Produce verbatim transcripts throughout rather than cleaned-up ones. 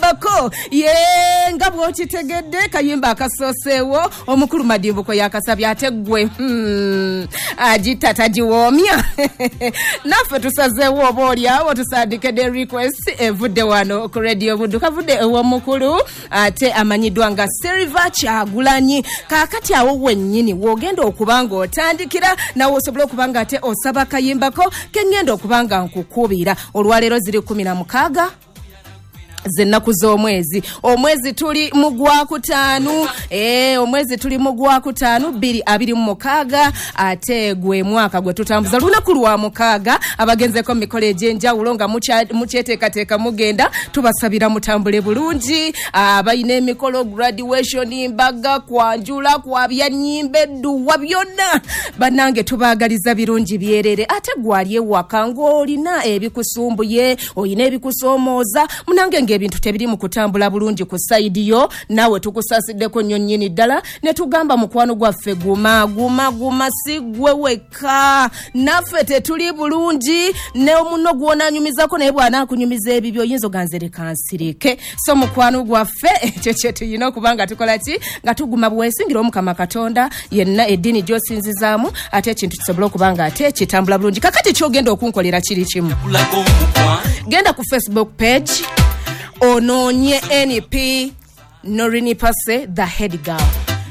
Akayimbako ye nga bw'okitegedde, kayimba akasooseewo omukulu Madimbuko yakasabye, ate ggwe hmm, agita tagiwoomya. Naffe tusazeewo oba oliawo tusandike request evudde wano ku Radio Buddu, kavudde ew'omukulu ate amanyiddwa nga Silver Kyagulanyi. Kaakati awo wennyini w'ogenda okuba nga otandikira, nawe osobola okuba nga ate osaba kayimbako keŋŋenda okuba nga nkukubira. Olwaleero ziri kumi na mukaaga zennaku z'omwezi, omwezi tuli mu gwakutaano, eh, omwezi tuli mu gwakutaano bbiri abiri mu mukaaga, ate gwe mwaka gwe tutambuza lunaku lwa mukaaga. Abagenzeko mu mikolo egy'enjawulo nga mukyeteekateeka mugenda, tubasabira mutambule bulungi. Abalina emikolo, graduation, mbaga, kwanjula, kwabya nnyimba, edduwa, byonna bannange tubaagaliza birungi byerere. Ate gwali ewaka ng'olina ebikusumbuye, olina ebikusoomooza, munange ng'ebintu tebiri mu kutambula bulungi ku side yo, naawe tukusasiddeko nnyo nnyini ddala ne tugamba mukwano gwaffe guma guma guma, si ggwe wekka, naffe tetuli bulungi. Ne omunno gw'onaanyumizako naye bw'anaakunyumiza ebibyo oyinza oganze leka nsirike. So mukwano gwaffe ekyo kye tulina okuba nga tukola ki, nga tuguma bwesingira Omukama Katonda yenna eddiini gy'osinzizaamu, ate ekintu kisobole okuba nga ate kitambula bulungi. Kakati ky'ogenda okunkolera kiri kimu, genda ku Facebook page onoonye N P Norini Pase the head girl.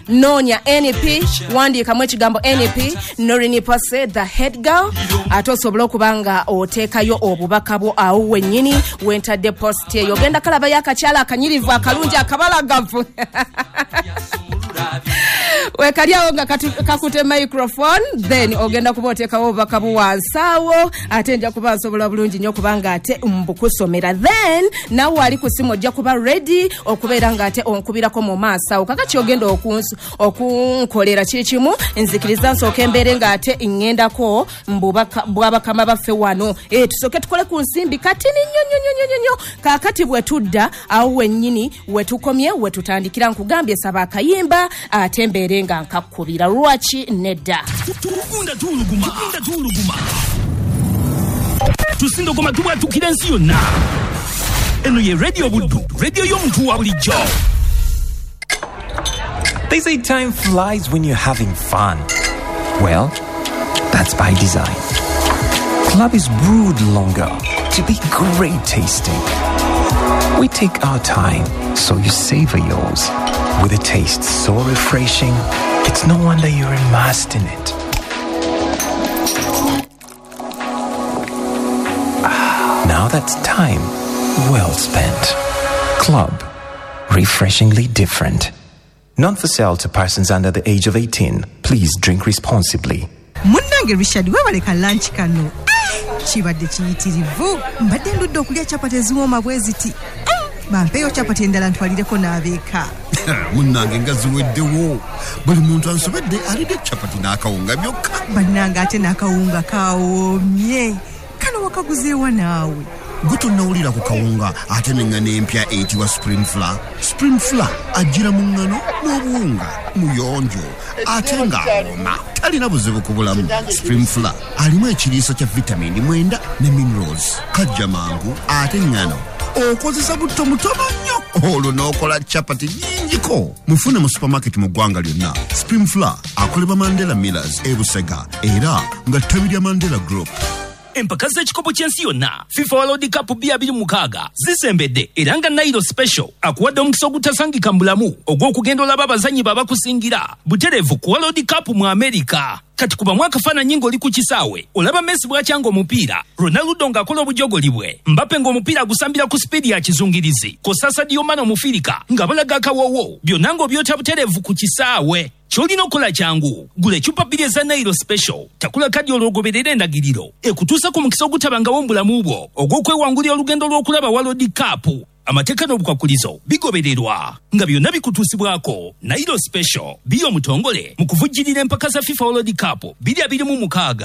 Noonya N P, wandiikamu ekigambo N P Norini Pase the head girl, ate osobola okuba nga oteekayo obubaka bwo awo wennyini wentadde post eyo. Ogenda kalabayo akakyala akanyirivu akalungi akabalagavu wekali awo nga kakute microphone, then ogenda kuba oteekawo obubaka bwo wansi awo, ate nja kuba nsobola bulungi nnyo kubanga ate mbukusomera. Then nawe ali ku simu ojja kuba ready okubeera nga ate onkubirako mu maaso awo. Kakati ogenda okunkolera kiri kimu, nzikiriza nsooke embeere nga ate ŋŋendako bwabakama baffe wano. E, tusooke tukole ku nsimbi katini nnyo nnyo nnyo nnyo nnyo. Kaakati bwe tudda awo wennyini we tukomye we tutandikira, nkugambye saba akayimba ate mbeere nga nkakubira. Lwaki nedda? Tugunda tuuluguma, tugunda tuuluguma, tusindogoma tubwatukira ensi yonna. Eno ye Radio Buddu, radio y'omuntu wa bulijjo. They say time flies when you're having fun. Well, that's by design. Club is brewed longer to be great tasting. We take our time so you savor yours. With a taste so refreshing, it's no wonder you're immersed in it. Now that's time well spent. Club, refreshingly different. Not for sale to persons under the age of eighteen. Please drink responsibly. Munnange Richard, webaleka lunch kano. Kibadde kiyitirivu. Mbadde ndudde okulya chapati eziwooma bwe ziti. Bampeeyo chapati endala ntwalireko n'abeeka. Munnange nga ziweddewo. Buli muntu ansobedde alidde chapati n'akawunga byokka. Bannange ate n'akawunga kawoomye. Kano wakaguzeewa naawe. Gwe tonnawulira ku kawunga ate n'eŋŋano empya eyitibwa Spring Flour. Spring Flour ajjira mu ŋŋano n'obuwunga, muyonjo ate ng'awooma, talina buzibu ku bulamu. Spring Flour alimu ekiriisa kya vitamini mwenda ne minerals, kajja mangu ate ŋŋano okozesa butto mutono nnyo olwo n'okola chapati nnyingiko. Mufune mu supermarket mu ggwanga lyonna. Spring Flour akolebwa Mandela Millers e Busega era nga ttabi lya Mandela Group. Empaka z'ekikopo ky'ensi yonna FIFA World Cup bbiri abiri mu mukaaga zisembedde, era nga Nairo Special akuwadde omukisa ogutasangika mu bulamu ogw'okugenda olaba abazannyi babakusingira butereevu ku World Cup mu Amerika. Kati kubamu akafaananyi ng'oli ku kisaawe, olaba Messi bw'akyanga omupiira, Ronaldo ng'akola obujogoli bwe, Mbappe ng'omupiira agusambira ku sipiidi ya kizungirizi, kw'ossa Sadio Mane Omufirika nga balaga akawoowo, byonna ng'obyota butereevu ku kisaawe. Ky'olina okukola kyangu, gula eccupa bbiri eza Nairo Special, takula kadi olwogoberera endagiriro ekutuusa ku mukisa ogutabangawo mu bulamu bwo ogw'okwewangulira olugendo lw'okulaba World Cup. Amateeka n'obukwakulizo bigobererwa nga byonna bikutuusibwako Nairo Special biyo omutongole mu kuvujjirira empaka za FIFA World Cup bbiri abiri mu mukaaga.